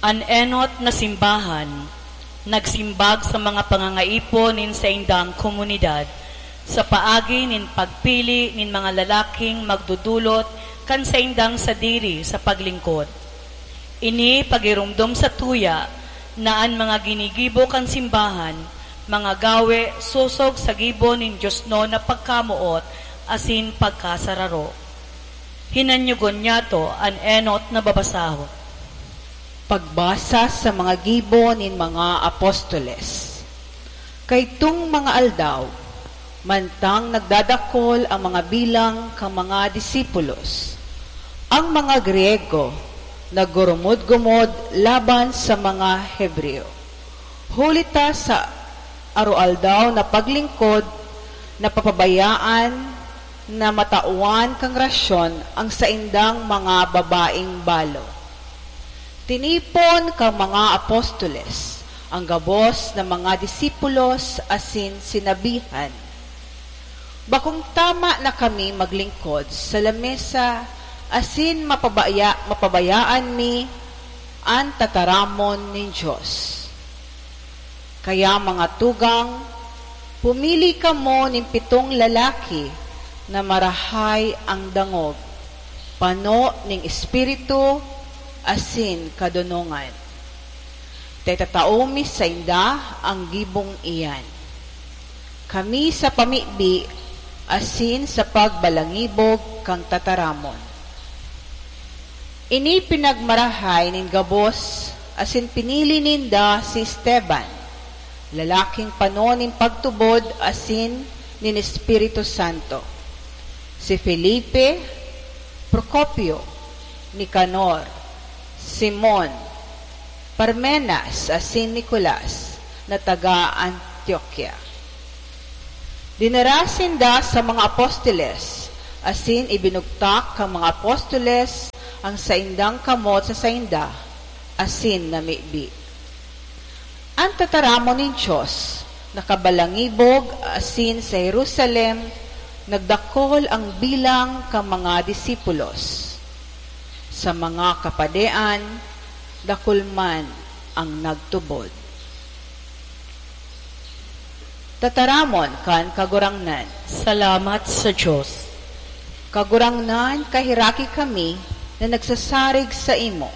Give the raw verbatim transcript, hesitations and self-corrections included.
An enot na simbahan nagsimbag sa mga pangangaipo nin saindang komunidad sa paagi nin pagpili nin mga lalaking magdudulot kan saindang sadiri sa paglingkod. Ini pagiromdom sa tuya na an mga ginigibo kan simbahan, mga gawe sosog sa gibo nin diosnon na pagkamoot asin pagkasararo. Hinanyogon niyato an enot na babasahon. Pagbasa sa mga gibo nin mga apostoles. Kaitong mga aldaw, mantang nagdadakol ang mga bilang kan mga disipulos, ang mga Griego naggurumod-gumod laban sa mga Hebreo. Huli ta sa aroaldaw na paglingkod, napapabayaan na matawan kan rasyon ang saindang mga babaeng balo. Tinipon kan mga apostoles an gabos na mga disipulos asin sinabihan, "Bakong tama na kami maglingkod sa lamesa asin mapabaya-, mapabayaan mi an tataramon nin Dios. Kaya, mga tugang, pumili kamo nin pitong lalaki na marahay an dangog, pano nin espiritu asin kadonongan. Ta itatao mi sainda an gibong iyan, kami sa pamibi asin sa pagbalangibog kan tataramon." Ini pinagmarahay nin gabos asin pinili ninda si Esteban, lalaking pano nin pagtubod asin nin Espiritu Santo, si Felipe, Procopio, Nicanor, Simon, Parmenas asin Nicolas na taga Antioquia. Dinara sinda sa mga apostoles, asin ibinugtak kan mga apostoles an saindang kamot sa sainda, asin namibi. An tataramon nin Dios nakabalangibog, asin sa Jerusalem nagdakol an bilang kan mga disipulos. Sa mga kapadean, dakul man an nagtubod. Tataramon kan Kagurangnan. Salamat sa Dios. Kagurangnan, kaheraki kami na nagsasarig saimo,